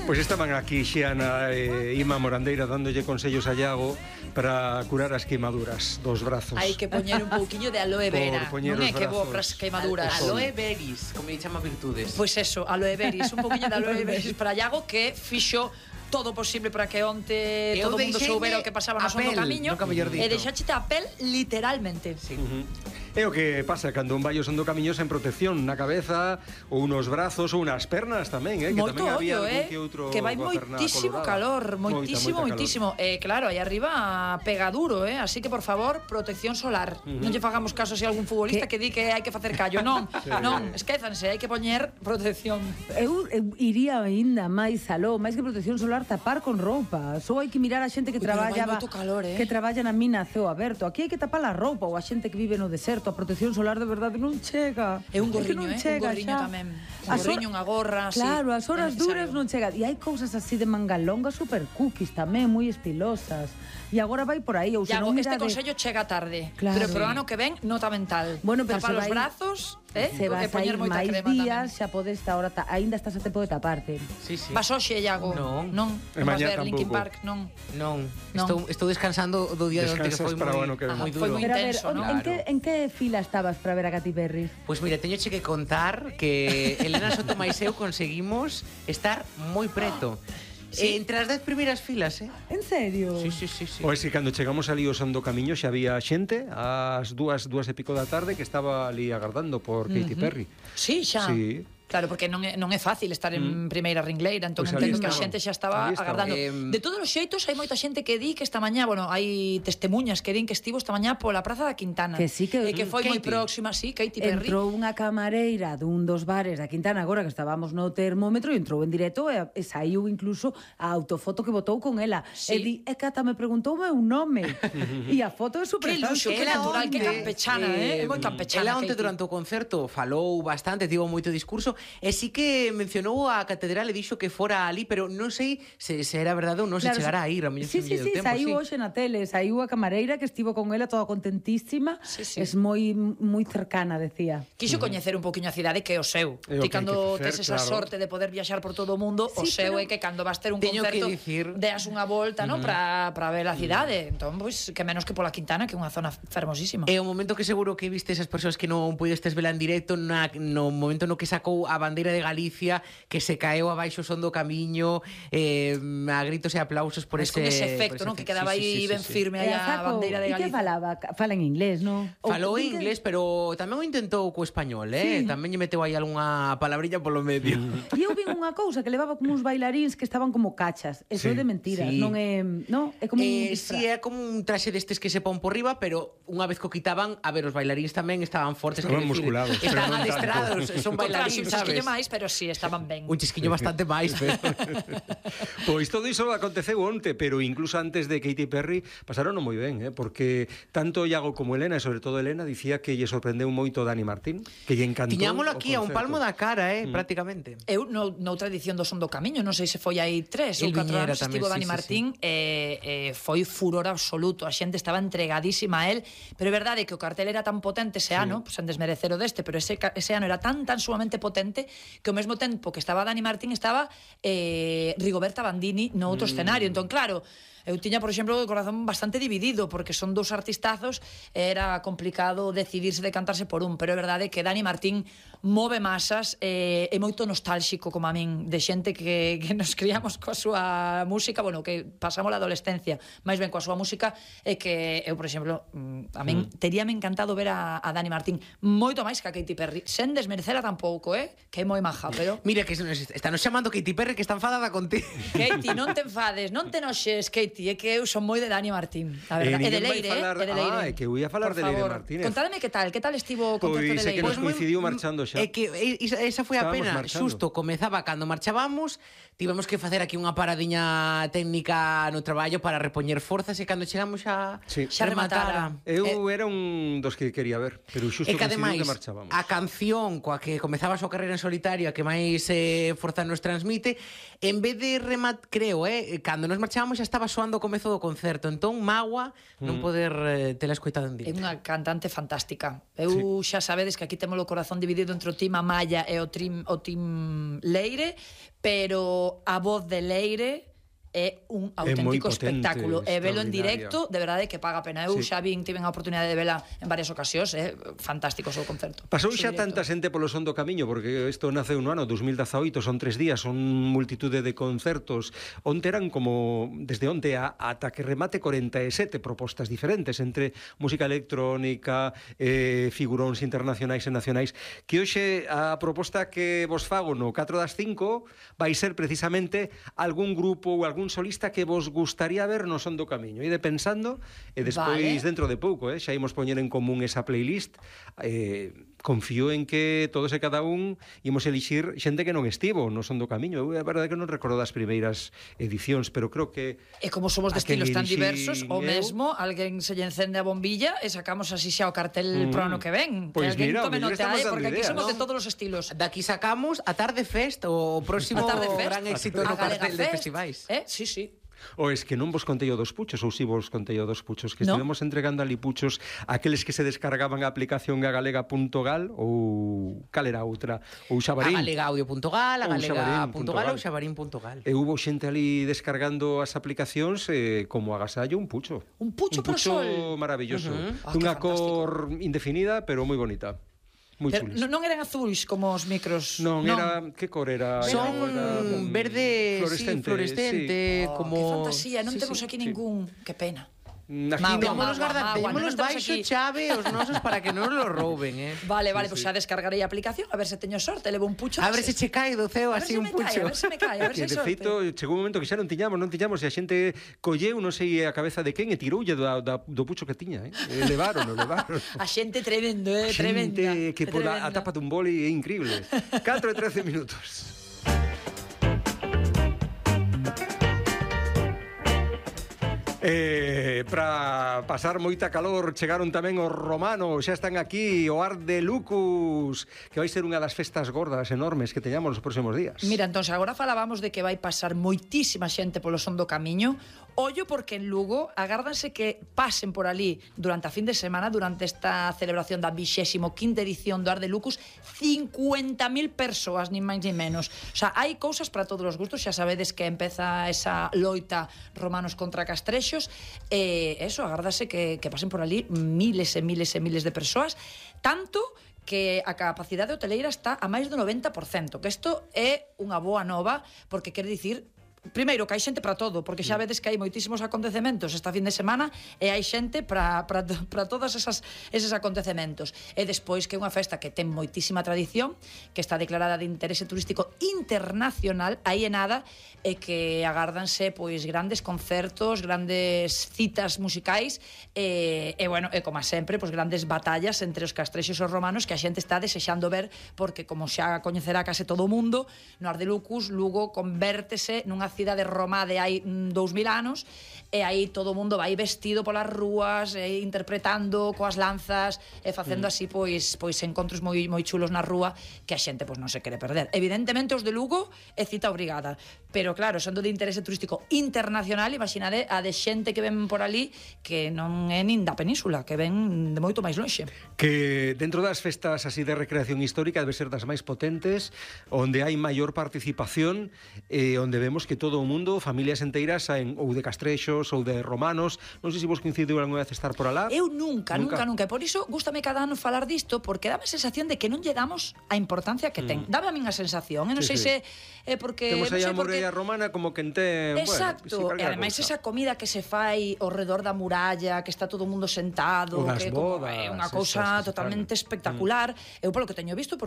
Pois estaban aquí Xiana e Ima Morandeira dándolle consellos a Iago para curar as queimaduras dos brazos. Hai que poñer un pouquiño de aloe vera. Non é que bo para as queimaduras. Aloe veris, como lle chama virtudes. Pois eso, aloe veris, un pouquiño de aloe veris para Iago, que fixo todo posible para que onte todo o mundo soubera o que pasaba no Son do Camiño e deixaxete a pel literalmente. Sí. É o que pasa cando un vai ao Son do Camiño sen protección na cabeza ou nos brazos ou nas pernas tamén, que moito tamén había ollo, algún que outro que vai moitísimo calor, moitísimo. Claro, aí arriba pega duro, así que por favor, protección solar. Non lle fagamos caso se algún futbolista que di que hai que facer callo, non, non, esquézanse, hai que poñer protección. Eu iría aínda máis aló, máis que protección solar, tapar con roupa. Só hai que mirar a xente que traballa que traballa na mina a ceo aberto. Aquí hai que tapar a roupa ou a xente que vive no deserto. A protección solar de verdade non chega. É un gorriño, un gorriño tamén. Un gorriño, unha gorra, así. Claro, as horas duras non chega. E hai cousas así de manga longa super cookies tamén, moi estilosas. E agora vai por aí, ou se non este consello chega tarde. Claro. Pero pro ano que ven, nota mental. Bueno, pero tapar os brazos, se vas a ir máis días, xa podes ahora, aínda estás a tempo de taparte. Sí, sí. Vas hoxe, Iago? Non vas ver Linkin Park, non. Estou descansando do día de onte, que foi moi duro. Foi moi intenso, non? En que fila estabas para ver a Katy Perry? Pois mira, teñoche que contar que Elena Sotomais e eu conseguimos estar moi preto. Entre as 10 primeiras filas, En serio? Sí. Pois que cando chegamos ali ao Son do Camiño xa había xente ás 2 e pico da tarde que estaba ali agardando por Katy Perry. Sí, xa. Sí. Claro, porque non é fácil estar en primeira ringleira, entón Pues entendo que a xente xa estaba agardando. De todos os xeitos, hai moita xente que di que esta mañá, hai testemunhas que din que estivo esta mañá pola Praza da Quintana. Que sí que foi moi próxima, sí, Katy Perry. Entrou unha camareira dun dos bares da Quintana agora que estábamos no termómetro e entrou en directo e saiu incluso a autofoto que botou con ela. E di, Cata me preguntou o meu nome. E a foto é super que luxo, que natural, que campechana, é moi campechana. Ela onte durante o concerto falou bastante, tivo moito discurso. E sí que mencionou a catedral e dixo que fora ali, pero non sei se era verdade ou non, se chegará a ir a mellor sí, saiu hoxe na tele, saiu a camareira que estivo con ela toda contentísima. Es moi cercana, decía. Quixo coñecer un poquinho a cidade que é o seu. Ti cando tes esa sorte de poder viaxar por todo o mundo, o seu é que cando vas ter un concerto deas unha volta, non, para ver a cidade. Entón, pois, que menos que pola Quintana, que é unha zona fermosísima. É o momento que seguro que viste esas persoas que non puidestes vela en directo no momento no que sacou a bandeira de Galicia, que se caeu abaixo Son do Camiño, a gritos e aplausos por ese efecto, non? Que quedaba aí ben firme aí a bandeira de Galicia. E que falaba? Fala en inglés, non? Falou en inglés, pero tamén o intentou co español, Tamén lle meteu aí algunha palabrilla polo medio. E eu vi unha cousa que levaba como uns bailaríns que estaban como cachas. Eso é de mentiras, non é, non? É como un sí, é como un traxe destes que se pon por riba, pero unha vez que o quitaban, a ver, os bailaríns tamén estaban fortes, estaban musculados, estaban adestrados, son bailaríns, sabes? Pero sí, estaban ben. Un chisquiño bastante máis. Pois todo iso aconteceu onte, pero incluso antes de Katy Perry pasaron moi ben, porque tanto Iago como Elena, e sobre todo Elena, dicía que lle sorprendeu moito Dani Martín, que lle encantou. Tiñámolo aquí a un palmo da cara, prácticamente. Eu noutra edición do Son do Camiño, non sei se foi aí 3 ou 4 anos, estivo Dani Martín, foi furor absoluto, a xente estaba entregadísima a él, pero é verdade que o cartel era tan potente ese ano, sen desmerecer o deste, pero ese ano era tan sumamente potente que ao mesmo tempo que estaba Dani Martín estaba Rigoberta Bandini no outro escenario. Entón, claro, eu tiña, por exemplo, o corazón bastante dividido porque son dous artistazos, era complicado decidirse de cantarse por un, pero é verdade que Dani Martín move masas, é moito nostálxico como a min, de xente que nos criamos coa súa música, bueno, que pasamos a adolescencia máis ben coa súa música, e que eu, por exemplo, a min teríame encantado ver a Dani Martín moito máis que a Katy Perry, sen desmerecela tampouco, que é moi maja, pero... Mira, que están nos chamando Katy Perry, que está enfadada contigo. Katy, non te enfades, non te noxes, Katy, é que eu son moi de Dani Martín, a verdade. E de Leire, é que eu ia falar de Leire Martínez. Contádeme que tal estivo o concerto de Leire. Pois é que nos coincidiu marchando xa. É que esa foi a pena, xusto comezaba cando marchábamos, tivemos que facer aquí unha paradiña técnica no traballo para repoñer forzas, e cando chegamos xa rematara. Eu era un dos que quería ver, pero xusto coincidiu que marchábamos. A canción coa que comezaba a súa carreira carreira en solitario a que máis forza nos transmite. En vez de creo, cando nos marchábamos xa estaba soando o comezo do concerto, entón mágoa non poder tela escoitado en É directo. unha cantante fantástica. Eu xa sabedes que aquí temos o corazón dividido entre o Team Amaya e o Team Leire, pero a voz de Leire é un auténtico espectáculo. E velo en directo, de verdade que paga a pena. Eu xa tiven a oportunidade de vela en varias ocasións, fantástico o seu concerto. Pasou xa tanta xente polo son do camiño, porque isto naceu no ano 2018, son 3 días, son multitude de concertos. Onte eran como, desde onte ata que remate 47 propostas diferentes, entre música electrónica, figuróns internacionais e nacionais, que hoxe a proposta que vos fago no 4 das 5 vai ser precisamente algún grupo ou algún solista que vos gustaría ver no son do camiño. Ide pensando e despois dentro de pouco, xa imos poñer en común esa playlist. Confío en que todos e cada un imos elixir xente que non estivo no son do camiño. Eu é verdade que non recordo das primeiras edicións, pero creo que... E como somos de estilos tan diversos, o mesmo, alguén se lle encende a bombilla e sacamos así xa o cartel pro ano que ven. Pois mira, porque aquí somos de todos os estilos. Daqui sacamos a Tarde Fest, o próximo gran éxito no cartel de festivais. Sí, sí. O es que non vos contei o dos puchos, ou si vos contei o dos puchos, que estivemos entregando ali puchos aqueles que se descargaban a aplicación gagalega.gal ou cal era outra, ou Xabarín. A galegaudio.gal, a galega.gal ou xabarín.gal. E hubo xente ali descargando as aplicacións como agasallo un pucho. Un pucho pro sol. Un pucho maravilloso. Dunha cor indefinida, pero moi bonita. Pero non eran azuis como os micros. Non, era... Que cor era? Son verde fluorescente, como... Que fantasía, non temos aquí ningún... Que pena. Témonos baixo chave os nosos para que non lo rouben, Vale, pois xa descargarei a aplicación, a ver se teño sorte, levo un pucho. A ver se che cae do ceo así un pucho. A ver se me cae, a ver se hai sorte. De feito, chegou un momento que xa non tiñamos, e a xente colleu, non sei a cabeza de quen, e tiroulle do pucho que tiña, levaron. A xente tremendo, Xente tremenda. que pola a tapa dun boli é increíble. 4 e 13 minutos. Para pasar moita calor chegaron tamén os romanos, xa están aquí o Art de Lucus, que vai ser unha das festas gordas enormes que teñamos nos próximos días. Mira, entón, agora falábamos de que vai pasar moitísima xente polo son do camiño. Ollo porque en Lugo agárdanse que pasen por ali durante a fin de semana, durante esta celebración da 25ª edición do Art de Lucus, 50.000 persoas, nin máis nin menos. O sea, hai cousas para todos os gustos, xa sabedes que empeza esa loita romanos contra castrexos, e eso, agárdase que pasen por ali miles e miles e miles de persoas, tanto que a capacidade hoteleira está a máis do 90%, que isto é unha boa nova, porque quere dicir primeiro, que hai xente para todo, porque xa vedes que hai moitísimos acontecementos esta fin de semana e hai xente para todos eses acontecementos. E despois que é unha festa que ten moitísima tradición, que está declarada de interese turístico internacional, aí é nada, e que agárdanse pois grandes concertos, grandes citas musicais e bueno, e como sempre, pois grandes batallas entre os castrexos e os romanos que a xente está desexando ver, porque como xa coñecerá case todo o mundo, no Art de Lucus, Lugo convértese nunha cidade romá de hai 2000 anos, e aí todo o mundo vai vestido polas rúas, interpretando coas lanzas e facendo así pois encontros moi chulos na rúa que a xente pois non se quere perder. Evidentemente os de Lugo é cita obrigada, pero claro, sendo de interese turístico internacional, imaginade a de xente que ven por ali que non é nin da península, que ven de moito máis lonxe. Que dentro das festas así de recreación histórica debe ser das máis potentes, onde hai maior participación, onde vemos que todo o mundo, familias enteiras ou de castrexos ou de romanos. Non sei se vos coincidiu algunha vez estar por alá. Eu nunca. E por iso gústame cada ano falar disto, porque dame a sensación de que non lle damos a importancia que ten. Dame a min a sensación, non sei se é porque... Temos aí a muralla romana como que entén... Exacto, e ademais esa comida que se fai ao redor da muralla, que está todo o mundo sentado, que é unha cousa totalmente espectacular. Eu polo que teño visto, porque